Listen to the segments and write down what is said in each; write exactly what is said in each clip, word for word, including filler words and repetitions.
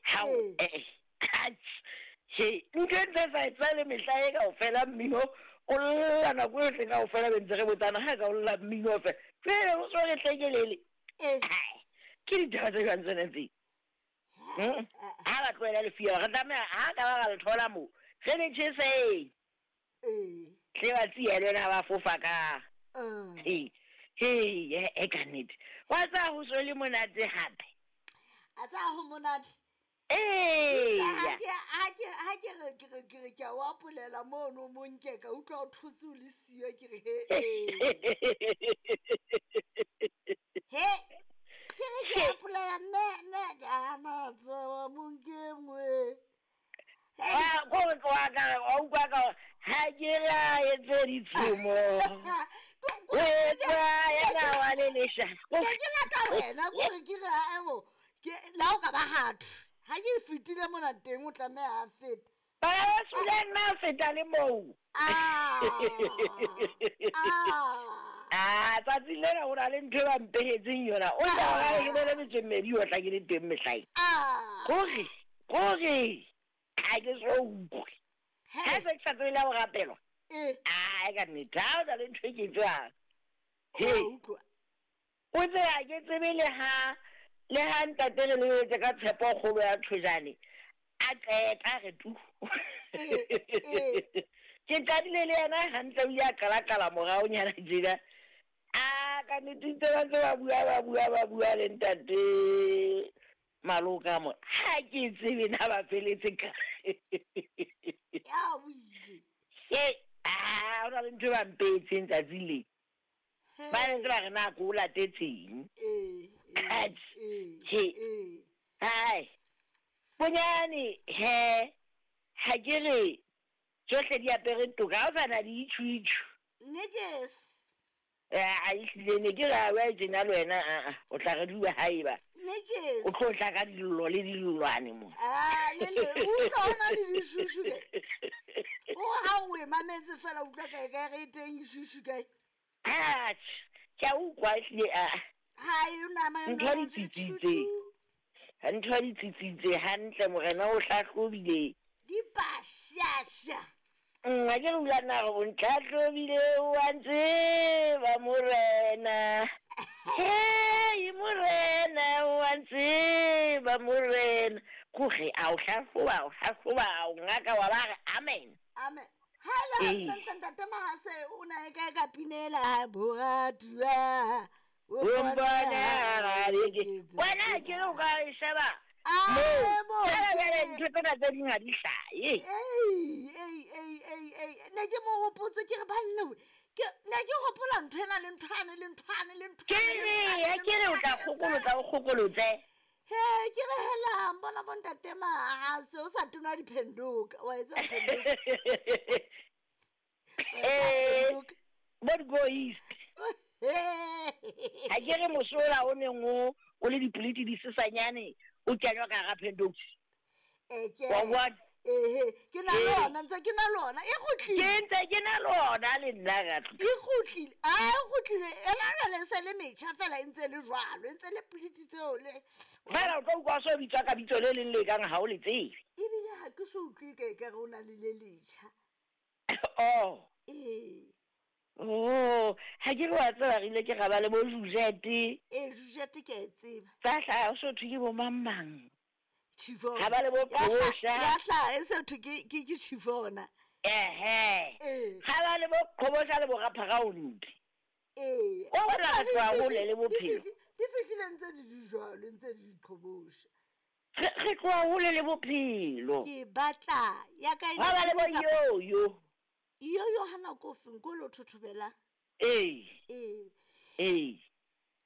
Hao, Ee. eh, atjhe. He, ntho e ntse e sa etsahale mehla e kaofela mmino o lla nako yohle kaofela be ntse re botsana ha ka o lla mmino fela. Jwale o so re hlekelele. Ee. Hai, ke ditaba tse jwang tsona tse? Hmm? Ha ba tlohela lefiya re tlameha ha ka ba ra le thola moo, re le tjheseng. Ee. Tle ba tsiya le wena ha ba fofa ka. Ah. He, he, e ka nnete. Wa tseba ho so le monate hape. A tseba ho monate. Eya. Ha ke ha ke ha ke re ke re ke re ke a o apolela mono mo nke ka utlwa o thotse o le siyo ke re he ee. He. Ke re ke apolela mme mme ke a na tseba mo nke nngwe. Wa ko re wa ka wa utlwa ka hore ha ke ra etse ditshomo. O etsa yena wa le lesha. Ke ke lata wena kore ke re aebo ke la o ka ba hatho. Ha ke fetile mona teng o tlameha a fete. Bana ba sule nna a feta le moo. Ah. Ah. Ah, tsatsing lena ho na le ntho e ba mpehetseng yona. O tla hore ke bele metso e mmedi ho tla ke le teng mehlae. Ah. Hore, hore ha ke so utlwe. He. Ha se ke sa tsebe le ho rapelwa. Eh. Ah, e ka nnete. Ha o na le ntho e ke e tsebang. He. Wa utlwa. O tsebe ha ke tsebe le ha, le ha ntate re lebeletse ka tshepo e kgolo ya Thojane, a qeta re tu. Eh, eh. Ke qadile le yena hantle, o ile a qala-qala moraonyana tjena. Ah, ka nnete ntse ba ntse ba bua, ba bua, ba bua le ntate Maloka mo. Ha ke tsebe na ba feletse kae. Ya o ile. Ke, ah, ho na le ntho e ba mpehetseng tsatsing le. He. Ba ne ntse ba re na ko o latetseng. Eh, eh, Atjhe. eh, He. eh. Hai. Bonyane he ha ke re tsohle di apere toka, ha o sa na di itjhu-itjhu. Nekes. Eh, a ehlile ne ke re ha wa e tjena le wena, a, a, o tla re dua haeba. Nekes. O tlo tla ka dillo le dillwane mo. Ah, le le, o utlwa ho na le dishushu kae? O ha o e mametse fela, o utlwa kae kae re e teng ishushu kae? Atjhe, ke a utlwa ehlile, a, a. Ha e nama yona Ntho di e ntse tsitsitse. Ntho di tsitsitse hantle, morena o hlahlobile. Di pashasha. Mm, ha ke re o ile a nna re o ntlhahlobile, o a ntseba morena. Hei, morena, o a ntseba morena. Kore a o hlahloba, a o hlahloba, a o ngaka wa ba re amen. Amen. Ha le Ee. hantle ntate Mahase o na e kae ka pinela ha boratuwa. O mpona ha re ke. Wena ha ke re o ka e sheba Ah, moo. bo, Jwale, jwale, ke- ntho tsena tse ding ha di hlahe. Ei, ei, ei, ei, ei. Ne ke mo hopotse ke re banna we. Ke ne ke hopola ntho ena le nthwane le nthwane le nthwane. Ke le re, nthwane ha le ke re o tla nthwane le kgokolotsa, o kgokolotse. He, ke re helang bona bo ntate Mahase o sa tona diphendoka. Wa e tseba phendoka? Eh, Phendoka. bo di go east. Ha ke re mosola o neng o, o le dipoliti di sesanyane, o kenywa ka hara Pendoks. Eh, ke Wa bona? Ehe, ke na Ee. lona, ntse ke na lona. E kgutlile. Ke ntse ke na lona le nna ka tlo. E kgutlile. Ah, e kgutlile. Ela jwale e se le metjha fela e ntse le jwalo, e ntse le politi tseo le. Fela o tlo utlwa o so bitswa ka bitso le leng le kang ha o le tsebe. Ebile ha ke so utlwe ka ekare o na le le letjha. Oh. Ee. Oh, ha ke re wa tseba re ile ke ra ba le bo Jujete. Ee, Jujete ke a e tseba. Tsa hlaha, o so thwe ke bo mang mang. Chifona. Ha ba le bo Ya hla- Qhosha. ya hlaha, e se thwe ke, ke, ke Chifona. Ehe. Ee. Ha ba le bo Qhobosha le bo Rapharaondi. Ee. O batla Empa re tloha di hole le fihlile- bophelo. di fihlile- di fihlile ntse di di jwalo, ntse di di qhobosha. Re, re tloha hole le bophelo. Ke batla ya ka e Ha ba le bo ne- yoyo. Yoyo ha nako ofeng, ko lo thothobela? Ee. Ee. Ee.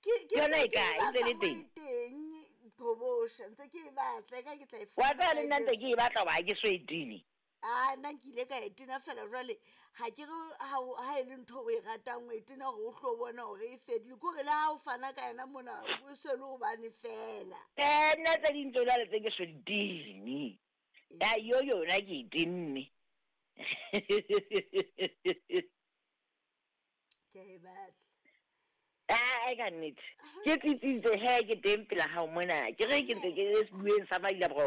Ke, ke Yona ntse e ke kae? E ntse e le batla mo teng? e teng, qhobosha, ntse ke e batla, eka ke tla e Wa fumana tseba le nna ntse kae ke e batla hoba ha ke so e tene. Ah, nna nkile ka e tena fela jwale, ha ke re ha o, ha e le ntho o e ratang o e tena hore o tlo bona hore e fedile. Ke hore le ha o fana ka yona mona, o se le hobane fela. Eh, nna tse ding tsona le tse ke so di tene. Ya yo yona ke e tenne. Ke a e batla. Ah, e ka nnete. Ke tsitsitse he ke teng pela hao mona. Ke re ke ntse ke le sebueng sa Maila Broko.